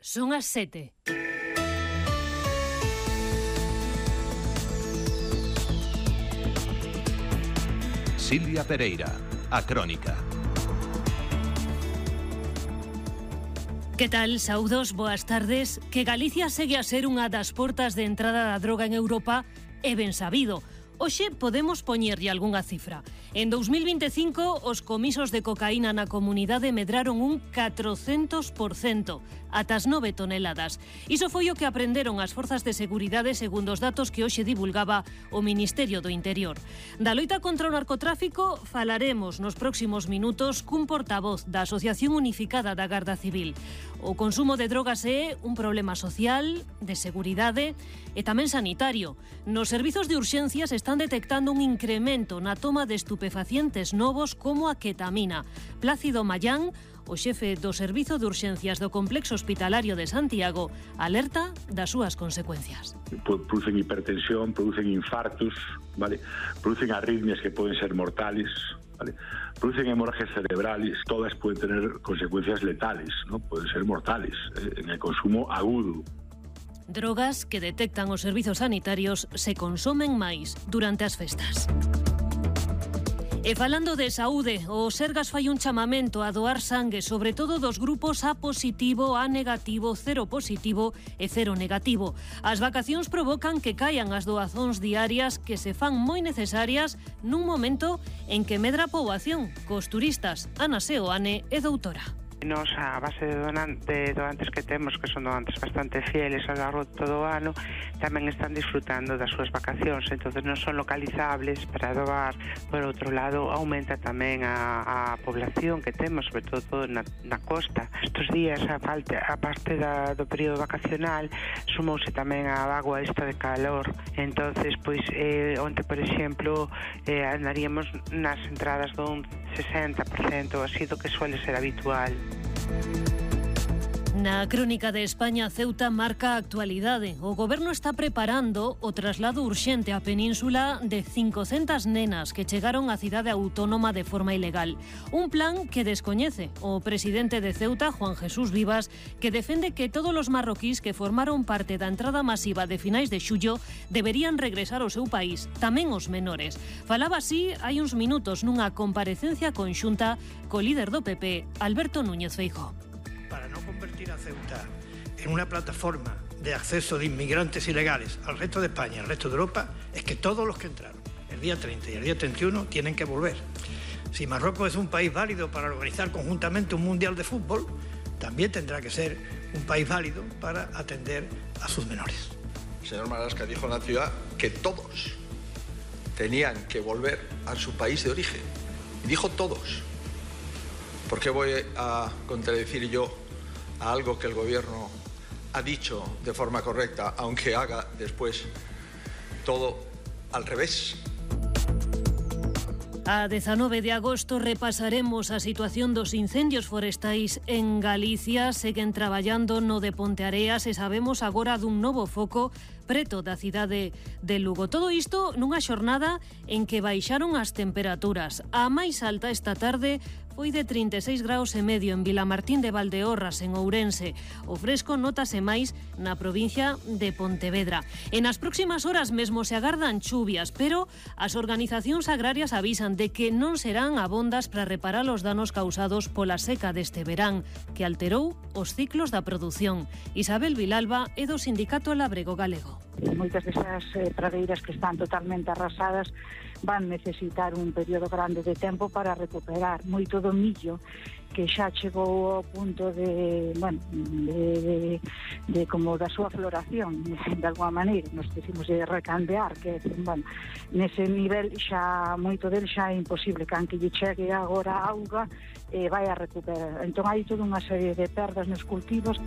Son as 7. Silvia Pereira, a Crónica. Que tal, saúdos, boas tardes. Que Galicia segue a ser unha das portas de entrada da droga en Europa é ben sabido. Hoxe podemos poñerlle algunha cifra. En 2025, os comisos de cocaína na comunidade medraron un 400%, ata as 9 toneladas. Iso foi o que aprenderon as forzas de seguridade segundo os datos que hoxe divulgaba o Ministerio do Interior. Da loita contra o narcotráfico falaremos nos próximos minutos cun portavoz da Asociación Unificada da Garda Civil. O consumo de drogas é un problema social, de seguridade e tamén sanitario. Nos servizos de urxencias están detectando un incremento na toma de estupefacientes novos como a ketamina. Plácido Mayán, o xefe do Servizo de Urxencias do Complexo Hospitalario de Santiago, alerta das súas consecuencias. Producen hipertensión, producen infartos, ¿vale? Producen arritmias que poden ser mortales, ¿vale? Producen hemorragias cerebrales, todas pueden tener consecuencias letales, ¿no? Pueden ser mortales en el consumo agudo. Drogas que detectan os servizos sanitarios se consomen máis durante as festas. E falando de saúde, o Sergas fai un chamamento a doar sangue, sobre todo dos grupos A positivo, A negativo, cero positivo e cero negativo. As vacacións provocan que caian as doazóns diarias que se fan moi necesarias nun momento en que medra a poboación, cos turistas Ana Seoane e doutora. Nos, a base de doantes que temos, que son doantes bastante fieles ao largo de todo o ano, tamén están disfrutando das súas vacacións, entonces non son localizables para doar. Por outro lado, aumenta tamén a población que temos, sobre todo na costa. Estes días, a parte do período vacacional, sumouse tamén a vagoa esta de calor, entonces, pois, onte, por exemplo, andaríamos nas entradas dun 60%, así do que suele ser habitual. Na Crónica de España, Ceuta marca a actualidade. O goberno está preparando o traslado urxente á península de 500 nenas que chegaron á cidade autónoma de forma ilegal. Un plan que descoñece o presidente de Ceuta, Juan Jesús Vivas, que defende que todos os marroquís que formaron parte da entrada masiva de finais de xullo deberían regresar ao seu país, tamén os menores. Falaba así hai uns minutos nunha comparecencia conxunta co líder do PP, Alberto Núñez Feijóo. Para no convertir a Ceuta en una plataforma de acceso de inmigrantes ilegales al resto de España, al resto de Europa, es que todos los que entraron el día 30 y el día 31 tienen que volver. Si Marruecos es un país válido para organizar conjuntamente un mundial de fútbol, también tendrá que ser un país válido para atender a sus menores. El señor Marlaska dijo en la ciudad que todos tenían que volver a su país de origen. Y dijo todos. ¿Por qué voy a contradecir yo a algo que el gobierno ha dicho de forma correcta, aunque haga después todo al revés? A 19 de agosto repasaremos a situación dos incendios forestais en Galicia. Seguen traballando no de Ponteareas e sabemos agora dun novo foco preto da cidade de Lugo. Todo isto nunha xornada en que baixaron as temperaturas. A máis alta esta tarde foi de 36 graus e medio en Vilamartín de Valdeorras, en Ourense. O fresco nótase máis na provincia de Pontevedra. En as próximas horas mesmo se agardan chuvias, pero as organizacións agrarias avisan de que non serán abondas para reparar os danos causados pola seca deste verán, que alterou os ciclos da produción. Isabel Vilalba é do Sindicato Labrego Galego. Moitas desas pradeiras que están totalmente arrasadas van necesitar un período grande de tempo para recuperar. Moito do millo que xa chegou ao punto de como da súa floración, de alguma maneira, nos decimos de recandear, que, bueno, nese nivel xa, moito del xa é imposible, can que lle chegue agora a auga, vai a recuperar. Entón hai toda unha serie de perdas nos cultivos.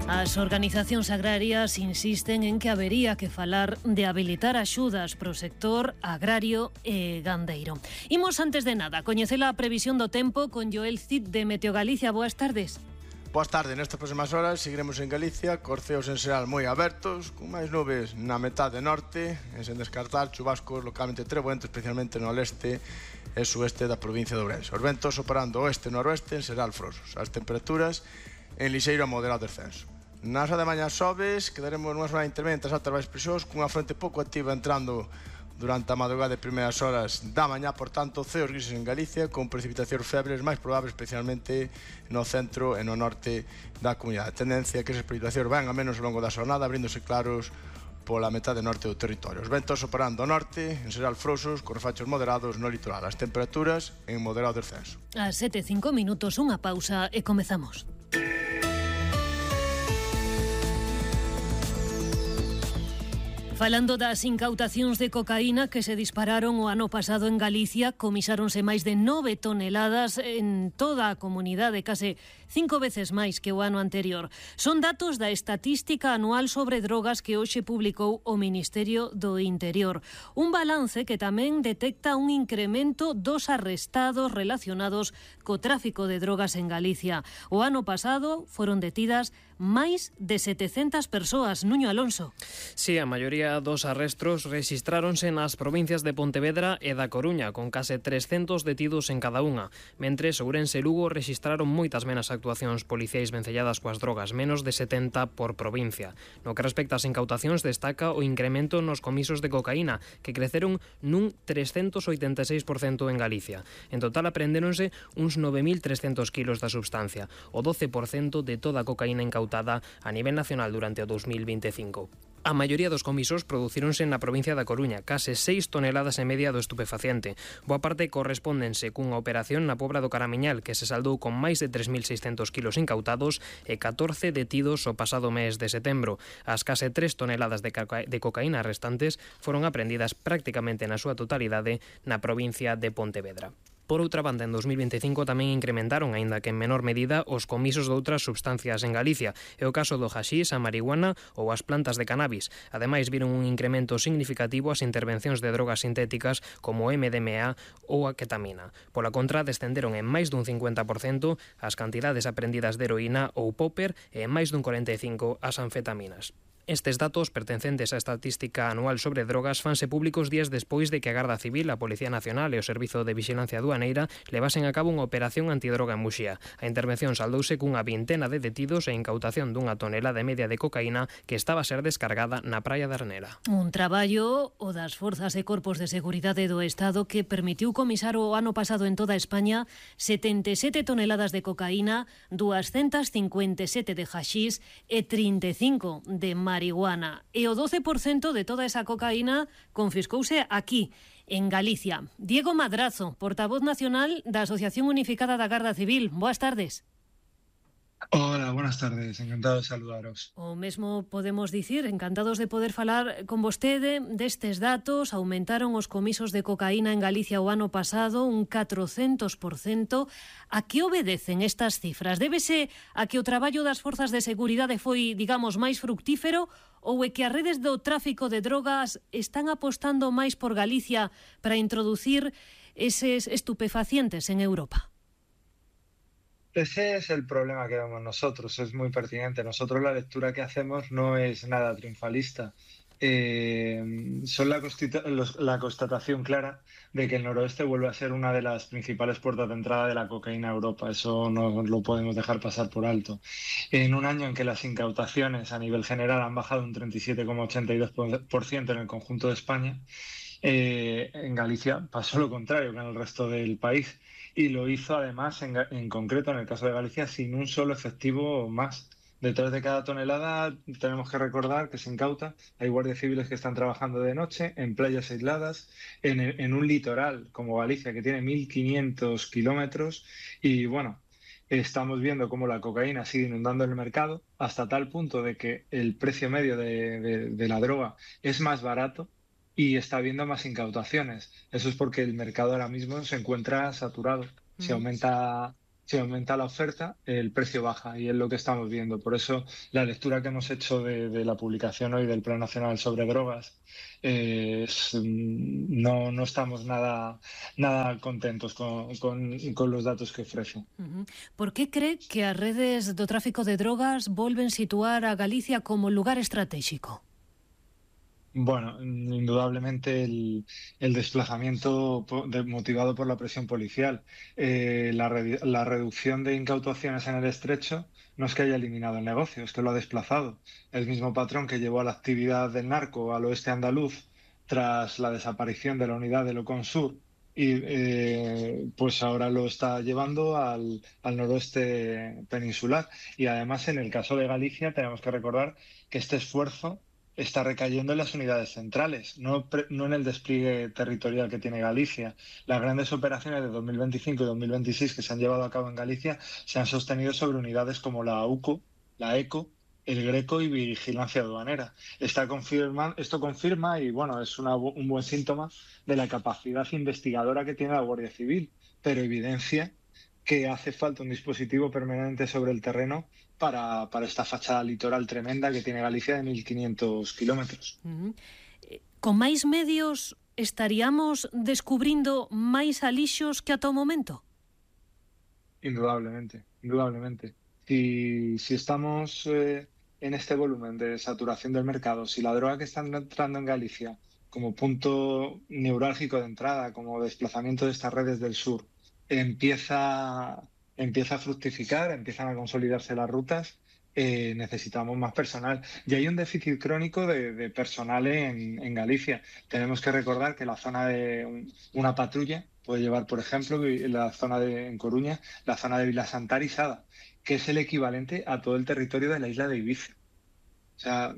As organizacións agrarias insisten en que habería que falar de habilitar axudas pro sector agrario e gandeiro. Imos antes de nada coñecer a previsión do tempo con Joel Cid de Meteo Galicia. Boas tardes. Boas tardes, nestas próximas horas seguiremos en Galicia, cos ceos en xeral moi abertos, con máis nubes na metade norte, e sen descartar chubascos localmente treboentos, especialmente no leste e sueste da provincia de Ourense. Os ventos operando oeste e noroeste en xeral frosos. As temperaturas en lixeiro a moderado descenso. Nas de mañá xoves quedaremos nunha zona intermedia entre as altas baixas presións cunha fronte pouco activa entrando durante a madrugada de primeiras horas da mañá, por tanto, ceos grises en Galicia con precipitacións febles máis probables especialmente no centro e no norte da comunidade. A tendencia é que esas precipitacións van a menos ao longo da xornada, abríndose claros pola metade norte do territorio. Os ventos operando ao norte, en xeral frouxos, con refachos moderados no litoral. As temperaturas en moderado descenso. A 7:05, unha pausa e comezamos. Falando das incautacións de cocaína que se dispararon o ano pasado en Galicia, comisáronse máis de 9 toneladas en toda a comunidade, case 5 veces máis que o ano anterior. Son datos da Estatística Anual sobre Drogas que hoxe publicou o Ministerio do Interior. Un balance que tamén detecta un incremento dos arrestados relacionados co tráfico de drogas en Galicia. O ano pasado foron detidas máis de 700 persoas. Nuño Alonso. Sí, a maioría dos arrestos rexistráronse nas provincias de Pontevedra e da Coruña, con case 300 detidos en cada unha, mentres Ourense e Lugo rexistraron moitas menos actuacións policiais vencelladas coas drogas, menos de 70 por provincia. No que respecta ás incautacións, destaca o incremento nos comisos de cocaína, que creceron nun 386% en Galicia. En total aprendéronse uns 9.300 kilos da substancia, o 12% de toda a cocaína incautada a nivel nacional durante o 2025. A maioría dos comisos producíronse na provincia da Coruña, case 6 toneladas e media do estupefaciente. Boa parte correspóndense cunha operación na Pobra do Caramiñal, que se saldou con máis de 3.600 kilos incautados e 14 detidos o pasado mes de setembro. As case 3 toneladas de cocaína restantes foron aprendidas prácticamente na súa totalidade na provincia de Pontevedra. Por outra banda, en 2025 tamén incrementaron, aínda que en menor medida, os comisos de outras substancias en Galicia. É o caso do haxís, a marihuana ou as plantas de cannabis. Ademais, viron un incremento significativo as intervencións de drogas sintéticas como o MDMA ou a ketamina. Pola contra, descenderon en máis dun 50% as cantidades aprendidas de heroína ou popper e en máis dun 45% as anfetaminas. Estes datos, pertencentes á Estatística Anual sobre Drogas, fanse públicos días despois de que a Garda Civil, a Policía Nacional e o Servizo de Vixilancia Aduaneira levasen a cabo unha operación antidroga en Muxía. A intervención saldouse cunha vintena de detidos e incautación dunha tonelada e media de cocaína que estaba a ser descargada na praia de Arnera. Un traballo o das Forzas e Corpos de Seguridade do Estado que permitiu comisar o ano pasado en toda España 77 toneladas de cocaína, 257 de haxís e 35 de marihuana. E o 12% de toda esa cocaína confiscouse aquí, en Galicia. Diego Madrazo, portavoz nacional da Asociación Unificada da Garda Civil. Boas tardes. Hola, buenas tardes, encantado de saludaros. O mesmo podemos dicir, encantados de poder falar con vostede destes datos. Aumentaron os comisos de cocaína en Galicia o ano pasado un 400%. A que obedecen estas cifras? Débese a que o traballo das forzas de seguridade foi, digamos, máis fructífero ou é que as redes do tráfico de drogas están apostando máis por Galicia para introducir eses estupefacientes en Europa? Ese es el problema que vemos nosotros, es muy pertinente. Nosotros la lectura que hacemos no es nada triunfalista. Son la constatación clara de que el noroeste vuelve a ser una de las principales puertas de entrada de la cocaína a Europa. Eso no lo podemos dejar pasar por alto. En un año en que las incautaciones a nivel general han bajado un 37,82% en el conjunto de España, en Galicia pasó lo contrario que en el resto del país. Y lo hizo además, en concreto, en el caso de Galicia, sin un solo efectivo más. Detrás de cada tonelada tenemos que recordar que se incauta. Hay guardias civiles que están trabajando de noche en playas aisladas, en un litoral como Galicia, que tiene 1.500 kilómetros. Y bueno, estamos viendo cómo la cocaína sigue inundando el mercado hasta tal punto de que el precio medio de la droga es más barato y está habiendo más incautaciones. Eso es porque el mercado ahora mismo se encuentra saturado. Si aumenta la oferta, el precio baja y es lo que estamos viendo. Por eso la lectura que hemos hecho de la publicación hoy del Plan Nacional sobre Drogas no estamos nada contentos con los datos que ofrece. Por que cree que as redes do tráfico de drogas volven situar a Galicia como lugar estratégico? Bueno, indudablemente el desplazamiento motivado por la presión policial. La reducción de incautaciones en el estrecho no es que haya eliminado el negocio, es que lo ha desplazado. El mismo patrón que llevó a la actividad del narco al oeste andaluz tras la desaparición de la unidad del Ocon Sur y pues ahora lo está llevando al noroeste peninsular. Y además, en el caso de Galicia, tenemos que recordar que este esfuerzo está recayendo en las unidades centrales, no en el despliegue territorial que tiene Galicia. Las grandes operaciones de 2025 y 2026 que se han llevado a cabo en Galicia se han sostenido sobre unidades como la UCO, la ECO, el Greco y Vigilancia Aduanera. Esto confirma, y bueno, es un buen síntoma de la capacidad investigadora que tiene la Guardia Civil, pero evidencia que hace falta un dispositivo permanente sobre el terreno para esta fachada litoral tremenda que tiene Galicia de 1.500 kilómetros. Con máis medios estaríamos descubrindo máis alixos que ata o momento? Indudablemente. Si estamos en este volumen de saturación del mercado, si la droga que está entrando en Galicia como punto neurálgico de entrada, como desplazamiento de estas redes del sur, empieza a fructificar, empiezan a consolidarse las rutas, necesitamos más personal. Y hay un déficit crónico de personal en Galicia. Tenemos que recordar que la zona de una patrulla puede llevar, por ejemplo, en Coruña, la zona de Vilasantar y Sada, que es el equivalente a todo el territorio de la isla de Ibiza. O sea,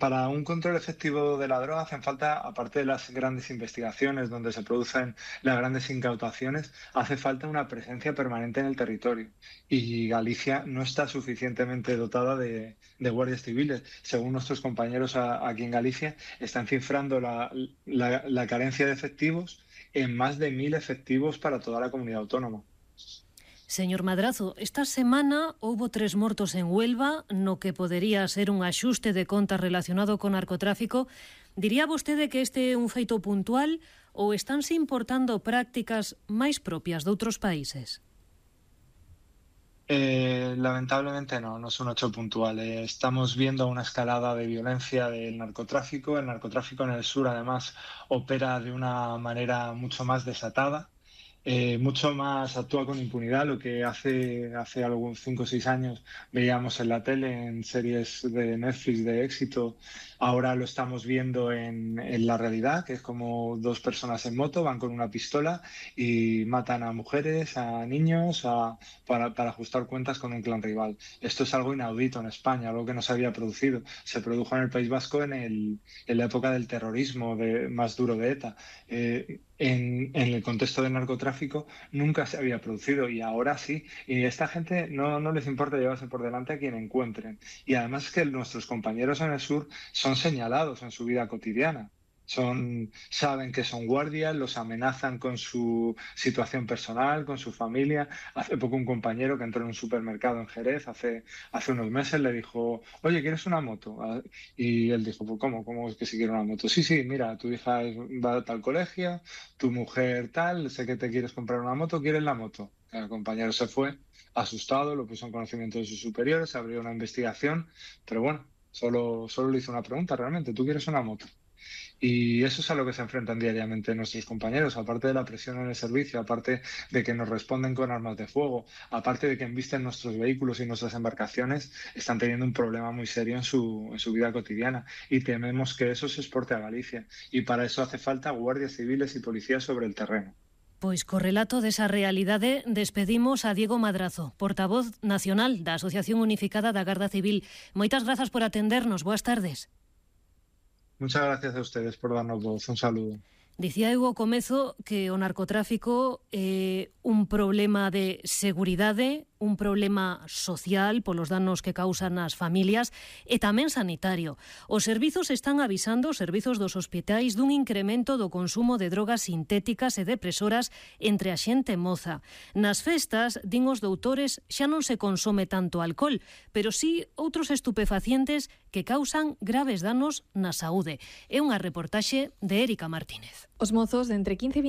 para un control efectivo de la droga hacen falta, aparte de las grandes investigaciones donde se producen las grandes incautaciones, hace falta una presencia permanente en el territorio. Y Galicia no está suficientemente dotada de guardias civiles. Según nuestros compañeros aquí en Galicia, están cifrando la carencia de efectivos en más de 1.000 efectivos para toda la comunidad autónoma. Señor Madrazo, esta semana houbo 3 mortos en Huelva, no que podería ser un axuste de contas relacionado con narcotráfico. Diría vostede que este é un feito puntual ou estánse importando prácticas máis propias de outros países? Lamentablemente no es un hecho puntual. Estamos viendo una escalada de violencia del narcotráfico. El narcotráfico en el sur, además, opera de una manera mucho más desatada. Mucho más actúa con impunidad, lo que hace algunos 5 o 6 años veíamos en la tele, en series de Netflix de éxito. Ahora lo estamos viendo en la realidad, que es como 2 personas en moto van con una pistola y matan a mujeres, a niños, para ajustar cuentas con un clan rival. Esto es algo inaudito en España, algo que no se había producido. Se produjo en el País Vasco en la época del terrorismo más duro de ETA. En el contexto del narcotráfico nunca se había producido y ahora sí. Y a esta gente no les importa llevarse por delante a quien encuentren. Y además es que nuestros compañeros en el sur son señalados en su vida cotidiana. Saben que son guardias, los amenazan con su situación personal, con su familia. Hace poco un compañero que entró en un supermercado en Jerez, hace unos meses, le dijo: oye, ¿quieres una moto? Y él dijo: pues ¿cómo es que si quiere una moto? Sí, mira, tu hija va a tal colegio, tu mujer tal, sé que te quieres comprar una moto, ¿quieres la moto? El compañero se fue asustado, lo puso en conocimiento de sus superiores, abrió una investigación, pero bueno, solo le hizo una pregunta realmente: ¿tú quieres una moto? Y eso es a lo que se enfrentan diariamente nuestros compañeros, aparte de la presión en el servicio, aparte de que nos responden con armas de fuego, aparte de que embisten nuestros vehículos y nuestras embarcaciones, están teniendo un problema muy serio en su vida cotidiana y tememos que eso se exporte a Galicia. Y para eso hace falta guardias civiles y policías sobre el terreno. Pois co relato desa realidade despedimos a Diego Madrazo, portavoz nacional da Asociación Unificada da Garda Civil. Moitas grazas por atendernos. Boas tardes. Muchas gracias a ustedes por darnos voz. Un saludo. Dicía eu ao comezo que o narcotráfico é un problema de seguridade, un problema social polos danos que causan as familias e tamén sanitario. Os servizos están avisando, os servizos dos hospitais, dun incremento do consumo de drogas sintéticas e depresoras entre a xente moza. Nas festas, din os doutores, xa non se consome tanto alcohol, pero sí outros estupefacientes que causan graves danos na saúde. É unha reportaxe de Érica Martínez. Os mozos de entre 15 e